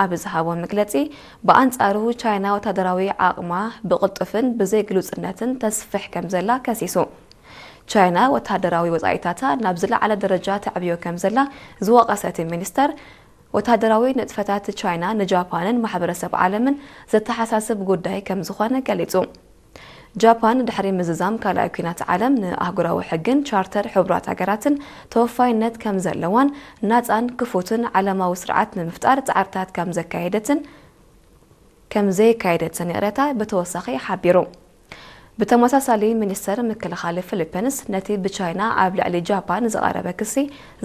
ኣብ ዝሃቦ መግለጺ፣ ብኣንጻሩ ቻይና ወታደራዊ ዓቕማ ብቕልጡፍን ብዘይ ግሉጽነትን ተስፍሕ ከም ዘላ ከሲሱ። ቻይና ወታደራዊ ወጻኢታታ ናብ ዝለዓለ ደረጃ ተዕብዮ ከም ዘላ ዝወቐሰ እቲ ሚኒስተር፣ ወታደራዊ ንጥፈታት ቻይና ንጃፓንን ማሕበረሰብ ዓለምን ዘተሓሳስብ ጉዳይ ከም ዝኾነ ገሊጹ። ጃፓን ድሕሪ ምዝዛም ካልኣይ ኲናት ዓለም ንኣህጉራዊ ሕግን ቻርተር ሕቡራት ሃገራትን ተወፋይነት ከም ዘለዋን ናጻን ክፉትን ዓለማዊ ስርዓት ንምፍጣር ጻዕርታት ከም ዘካየደትን ከም ዘየካየደትን ይቕሬታ ብተወሳኺ ሓቢሩ። ብተመሳሳሊ ሚኒስተር ምክልኻል ፊሊፒንስ ነቲ ብቻይና ኣብ ልዕሊ ጃፓን ዝቐረበ ክሲ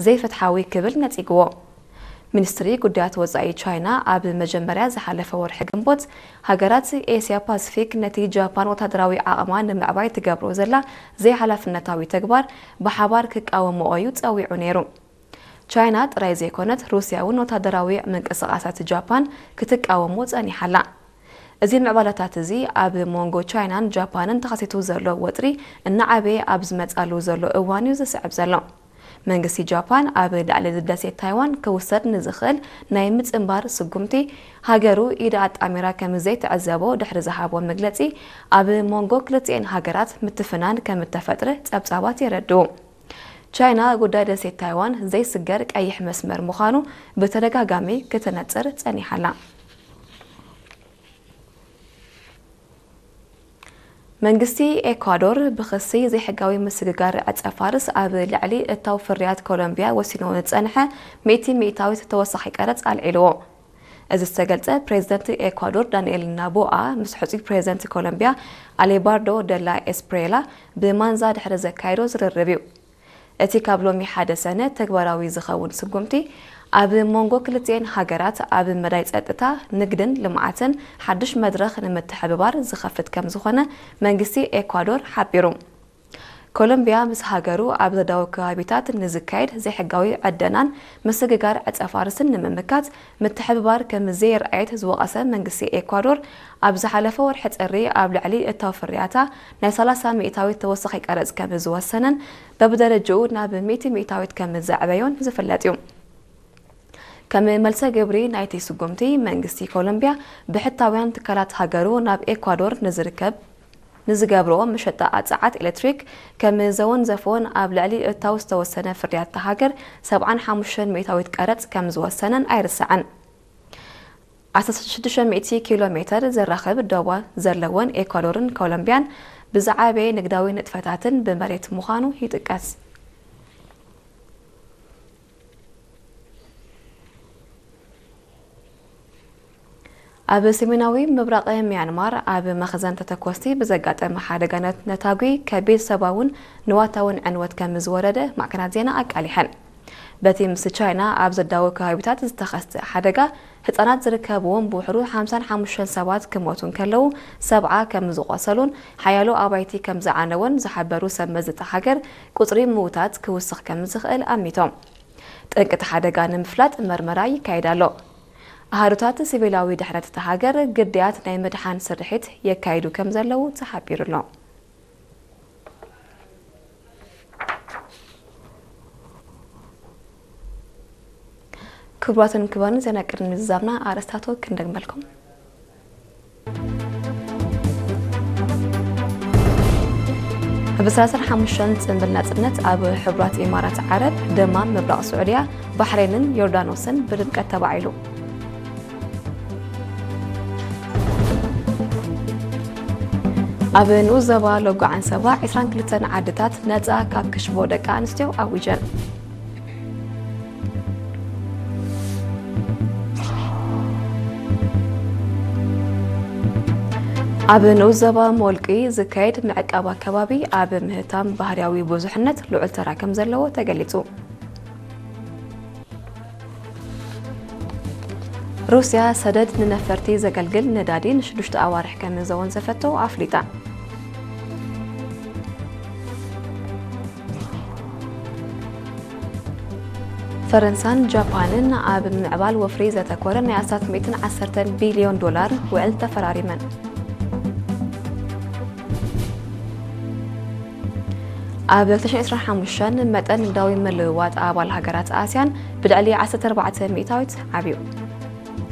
ዘይፍትሓዊ ክብል ነጺግዎ። ሚኒስትሪ ጉዳያት ወጻኢ ቻይና ኣብ መጀመርያ ዝሓለፈ ወርሒ ግንቦት፣ ሃገራት ኤስያ ፓሲፊክ ነቲ ጃፓን ወታደራዊ ዓቕማ ንምዕባይ ትገብሮ ዘላ ዘይሓላፍነታዊ ተግባር ብሓባር ክቃወምኦ እዩ ጸዊዑ ነይሩ። ቻይና ጥራይ ዘይኮነት፣ ሩስያ እውን ወታደራዊ ምንቅስቓሳት ጃፓን ክትቃወሞ ጸኒሓ ኣላ። እዚ ምዕባለታት እዚ ኣብ መንጎ ቻይናን ጃፓንን ተኸሲቱ ዘሎ ወጥሪ እናዓበየ ኣብ ዝመጻሉ ዘሎ እዋን እዩ ዝስዕብ ዘሎ። መንግስቲ ጃፓን ኣብ ልዕሊ ደሴት ታይዋን ክውሰድ ንዝኽእል ናይ ምጽንባር ስጉምቲ፣ ሃገሩ ኢዳ ኣጣሚራ ከም ዘይትዕዘቦ ድሕሪ ዝሃቦ መግለጺ፣ ኣብ መንጎ ክልቲኤን ሃገራት ምትፍናን ከም እተፈጥረ ጸብጻባት የረድኡ። ቻይና ጉዳይ ደሴት ታይዋን ዘይስገር ቀይሕ መስመር ምዃኑ ብተደጋጋሚ ክትነጽር ጸኒሓ ኣላ። መንግስቲ ኤኳዶር ብኽሲ ዘይሕጋዊ ምስግጋር ዕጸ ፋርስ ኣብ ልዕሊ እታው ፍርያት ኮሎምቢያ ወሲኑ ንጸንሐ ሚእቲ ሚእታዊት ተወሳኺ ቀረጽ ኣልዒልዎ። እዚ ዝተገልጸ ፕሬዝደንት ኤኳዶር ዳንኤል ናቦኣ ምስ ሕጹይ ፕሬዝደንት ኮሎምቢያ ኣሌባርዶ ደላ ኤስፕሬላ ብማንዛ ድሕሪ ዘካየዶ ዝርርብ እዩ። እቲ ካብ ሎሚ ሓደ ሰነ ተግባራዊ ዝኸውን ስጉምቲ፣ ኣብ መንጎ ክልቲኤን ሃገራት ኣብ መዳይ ጸጥታ፣ ንግድን ልምዓትን ሓድሽ መድረኽ ንምትሕብባር ዝኸፍት ከም ዝኾነ መንግስቲ ኤኳዶር ሓቢሩ። ኮሎምቢያ ምስ ሃገሩ ኣብ ዘዳዊ ከባቢታት ንዝካየድ ዘይሕጋዊ ዕደናን ምስግጋር ዕጸ ፋርስን ንምምካት ምትሕብባር ከም ዘየርኣየት ዝወቐሰ መንግስቲ ኤኳዶር፣ ኣብ ዝሓለፈ ወርሒ ጥሪ ኣብ ልዕሊ እታው ፍርያታ ናይ ሰላሳ ሚእታዊት ተወሳኺ ቀረጽ ከም ዝወሰነን፣ በብደረጃኡ ናብ ሚእቲ ሚእታዊት ከም ዘዕበዮን ዝፍለጥ እዩ። ከም መልሰ ግብሪ ናይቲ ስጉምቲ፣ መንግስቲ ኮሎምቢያ ብሕታውያን ትካላት ሃገሩ ናብ ኤኳዶር ንዝርከብ ንዝገብርዎ መሸጣ ጸዓት ኤሌክትሪክ ከም ዘወንዘፎን ኣብ ልዕሊ እታው ዝተወሰነ ፍርያት እታ ሃገር ሰብዓን ሓሙሽተን ሚእታዊት ቀረጽ ከም ዝወሰነን ኣይርሳዕን። ዓሰርተ ሽዱሽተ ሚእቲ ኪሎ ሜተር ዘራኽብ ዶባ ዘለወን ኤኳዶርን ኮሎምቢያን ብዝዓበየ ንግዳዊ ንጥፈታትን ብመሬት ምዃኑ ይጥቀስ። ኣብ ሰሜናዊ ምብራቕ ሚያንማር ኣብ መኽዘን ተተኮስቲ ብዘጋጠመ ሓደጋ ነት-፣ ነታጒ ከቢድ ሰብኣውን ንዋታውን ዕንወት ከም ዝወረደ ማዕከናት ዜና ኣቃሊሐን። በቲ ምስ ቻይና ኣብ ዘዳወ ከባቢታት ዝተኸስተ ሓደጋ፣ ህጻናት ዝርከብዎም ብውሕዱ ሓምሳን ሓሙሽተን ሰባት ክሞቱ እንከለዉ፣ ሰብዓ ከም ዝቖሰሉን ሓያሎ ኣባይቲ ከም ዝዓነወን ዝሓበሩ ሰብ መዚ እታ ሃገር፣ ቁጽሪ ምዉታት ክውስኽ ከም ዝኽእል ኣሚቶም። ጠንቂ እቲ ሓደጋ ንምፍላጥ መርመራ ይካየድ ኣሎ። ኣሃዱታት ሲቪላዊ ድሕነት እታ ሃገር ግዳያት ናይ ምድሓን ስርሒት የካይዱ ከም ዘለዉ ተሓቢሩ ኣሎ። ክቡራትን ክቡራን፣ ዜና ቅድሚ ምዝዛምና ኣርእስታቱ ክንደግመልኩም። ብሰላሳን ሓሙሽተን ጽንብል ናጽነት ኣብ ሕቡራት ኢማራት ዓረብ፣ ደማም ምብራቕ ስዑድያ፣ ባሕሬንን ዮርዳኖስን ብድምቀት ተባዒሉ። ኣብ ንኡስ ዞባ ሎጎ ዓንሰባ፣ ዕስራን ክልተን ዓድታት ነጻ ካብ ክሽቦ ደቂ ኣንስትዮ ኣዊጀን። ኣብ ንኡስ ዞባ ሞልቂ ዝካየድ ምዕቃብ ኣከባቢ ኣብ ምህታም ባህርያዊ ብዙሕነት ልዑል ተራ ከም ዘለዎ ተገሊጹ። ሩስያ ሰደድ ንነፈርቲ ዘገልግል ነዳዲ ንሽዱሽተ ኣዋርሕ ከም ዘወንዘፈቶ ኣፍሊጣ። ፈረንሳን ጃፓንን ኣብ ምምዕባል ወፍሪ ዘተኮረ ናይ ኣስታት ሚእትን ዓሰርተን ቢልዮን ዶላር ውዕል ተፈራሪመን። ኣብ ክልተ ሽሕን ዕስራን ሓሙሽተን መጠን ንግዳዊ ምልውዋጥ ኣባል ሃገራት ኣስያን ብልዕሊ ዓሰርተ ኣርባዕተ ሚእታዊት ዓብዩ።